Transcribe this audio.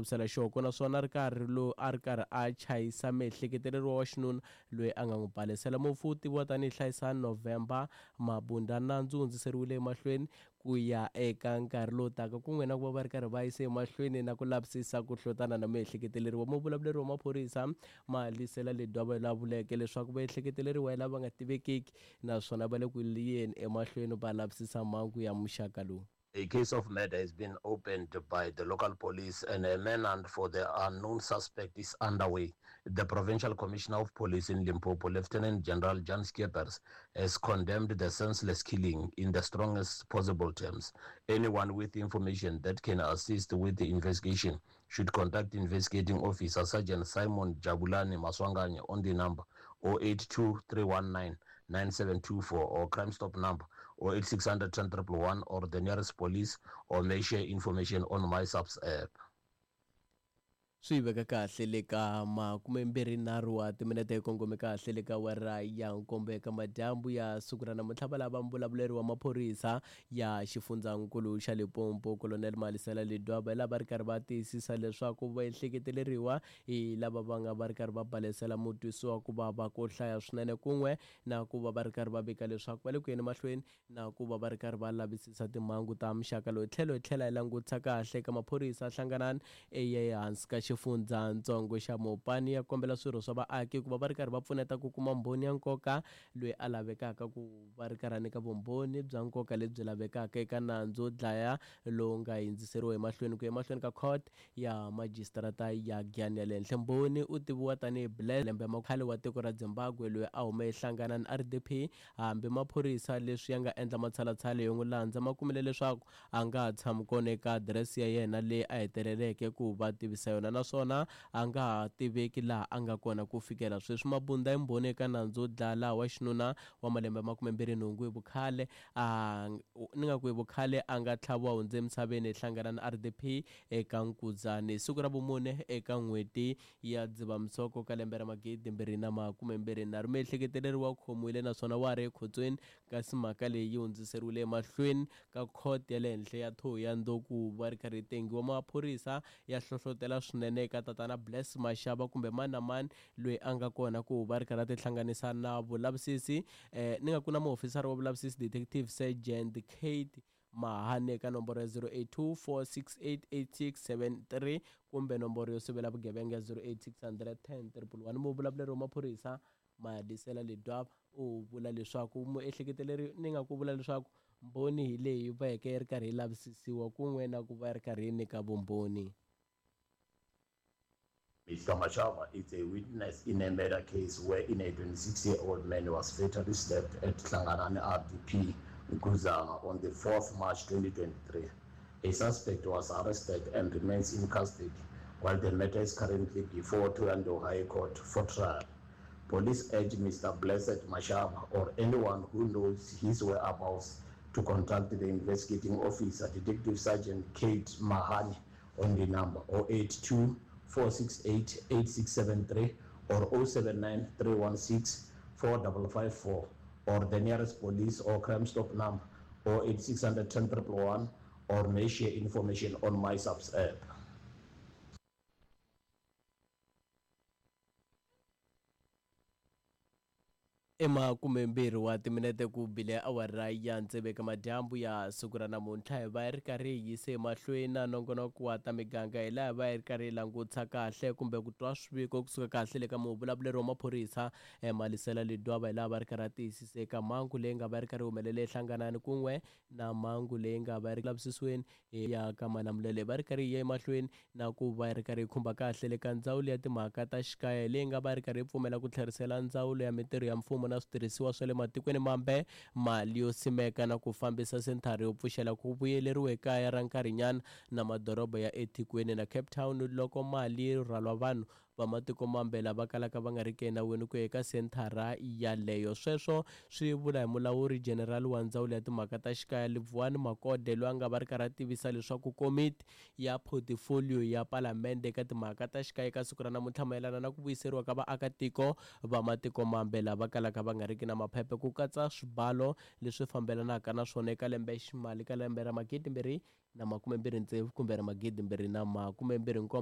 Vavisela xihoko naswona a ri karhi lo a ri karhi a chayisa miehleketeleriwa wa xinuna loyi a nga n'wi balesela. Mufi u tiviwa tanihi Hlayisani November Mabunda. Nandzu wu hundziseriwile emahlweni ku ya eka nkarhi lowu taka kun'we na ku va va ri karhi va yise emahlweni na ku lavisisa ku hlotana na miehleketeleriwa. Muvulavuleri wa maphorisa Malisela Ledwaba la vuleke leswaku vaehleketeleriwa hi lava nga tivekiki naswona va le ku yeni emahlweni va lavisisa mhangu ya muxaka lowu. A case of murder has been opened by the local police and a manhunt for the unknown suspect is underway. The Provincial Commissioner of Police in Limpopo, Lieutenant General Jan Skeepers, has condemned the senseless killing in the strongest possible terms. Anyone with information that can assist with the investigation should contact investigating officer Sergeant Simon Jabulani Maswanganye on the number 082 319 9724 or Crime Stop number 08600 10 111 or the nearest police or may share information on MySAPS app. Swi veka kahle le ka makumembirhinharhu wa timinete hi kongome kahle le ka awara ya nkombo eka madyambu ya siku ra namuntlha. Va lava mbulavuleri wa maphorisa ya xifundzankulu xa Limpopo, Colonel Malisela Ledwaba, hi lava ri karhi va tiyisisa leswaku va ehleketeleriwa hi lava va nga va ri karhi va balesela mutwisiwa ku vava ko hlaya swinene kun'we na ku va va ri karhi va vika leswaku va le ku yeni mahlweni na ku va va ri karhi va lavisisa timhangu ta muxaka lowu. Tlhelo hi tlhela hi langutisa kahle eka maphorisa hlanganani ehansi ka xifundzatsongo xa Mopani ya kombela swirho swa vaaki ku va va ri karhi va pfuneta ku kuma mbhoni ya nkoka loyi a lavekaka ku va ri karhi a nyika vumbhoni bya nkoka lebyi lavekaka eka nandzu wo dlaya lowu nga hindziseriwa emahlweni ku ya emahlweni ka court ya majisitarata ya Giyani ya le henhla. Mbhoni u tiviwa tanihi Bless lembe khale wa tiko ra Zimbabwe loyi a hume ehlanganani RDP Hambi maphorisa leswi ya nga endla matshalatshala yo n'wi landza ma kumile leswaku a nga ha tshami kona eka adirese ya yena leyi a heteleleke ku va tivisa yona naswona a nga ha tiveki laha a nga kona ku fikela sweswi. Mabunda i mbhoni eka nandzu wo dlaya laha wa xinuna wa malembe ya 28 hi vukhale a ni nga ku hi vukhale a nga tlhaviwa hundze emisaveni eHlanganani RDP eka Nkuzani hi siku ra vumune eka n'hweti ya Dzivamisoko ka lembe ra 2023. Muehleketeleriwa u khomiwile naswona wa ha ri ekhotsweni kasi mhaka leyi yi hundziseriwile emahlweni ka khoto ya le henhla ya Thohoyandou ku va ri karhi yi tengiwa. Maphorisa ya hlohlotela swinene eka tatana Bless Mashaba kumbe mani na mani loyi a nga kona ku va ri karhi a tihlanganisa na vulavisisi ni nga ku na muofisara wa vulavisisi Detective Sergeant Kate Mahane eka nomboro ya 0824688673 kumbe nomboro yo sivela vugevenga ya 08600 10111. Muvulavuleri wa maphorisa Madisela Ledwaba u vula leswaku muehleketeleri ni nga ku vula leswaku mbhoni hi leyi veke yi ri karhi yi lavisisiwa kun'we na ku va yi ri karhi yi nyika vumbhoni. Mr Mashaba is a witness in a murder case wherein a 26-year-old man was fatally stabbed at Hlanganani RDP, Nkuzana on the 4th March 2023. A suspect was arrested and remains in custody while the matter is currently before Thohoyandou High Court for trial. Police urge Mr Blessed Mashaba or anyone who knows his whereabouts to contact the investigating officer, Detective Sergeant Kate Mahani, on the number 082 468 8673 or 079 316 4554 or the nearest police or crime stop number 08600 10 111 or may share information on MySAPS app. I makumembirhi wa timinete ku bile awara ya tsevu eka madyambu ya siku ra namuntlha. Hi va hi ri karhi hi yise emahlweni na nongonoko wa ta miganga hi laha hi va hi ri karhi hi langutisa kahle kumbe ku twa swiviko kusuka kahle le ka muvulavuleri wa maphorisa Malisela Ledwaba hi laha va ri karhi a tiyisisa eka mhangu leyi nga va yi ri karhi yi humelele eHlanganani kun'we na mhangu leyi nga va yi ri lavisisiweni ya ka Malamulele. Va ri karhi yi ya emahlweni na ku va yi ri karhi yi khumba kahle le ka Ndzawulo ya Timhaka ta Xikaya leyi nga va yi ri karhi yi pfumela ku tlherisela Ndzawulo ya Mitirho ya Mfumo na Switirhisiwa swa le Matikweni Mambe mali yo simeka na ku fambisa senthara yo pfuxela ku vuyeleriwa ekaya ra nkarhinyana na madoroba ya eThekwini na Cape Town loko mali yi rhwalwa vanhu va matiko mambe lava kalaka va nga riki enawini ku ya eka senthara yaleyo. Sweswo swi vula hi mulawuri jenerali wa Ndzawulo ya Timhaka ta Xikaya Livhuwani Makode loyi a nga va ri karhi a tivisa leswaku komiti ya photifoliyo ya Palamende eka timhaka ta xikaya eka siku ra namuntlha mayelana na ku vuyiseriwa ka vaakatiko va matiko mambe lava kalaka va nga riki na maphephe ku katsa swibalo leswi fambelanaka na swona eka lembe ximali ka lembe ra 2026 kumbe ra 2027.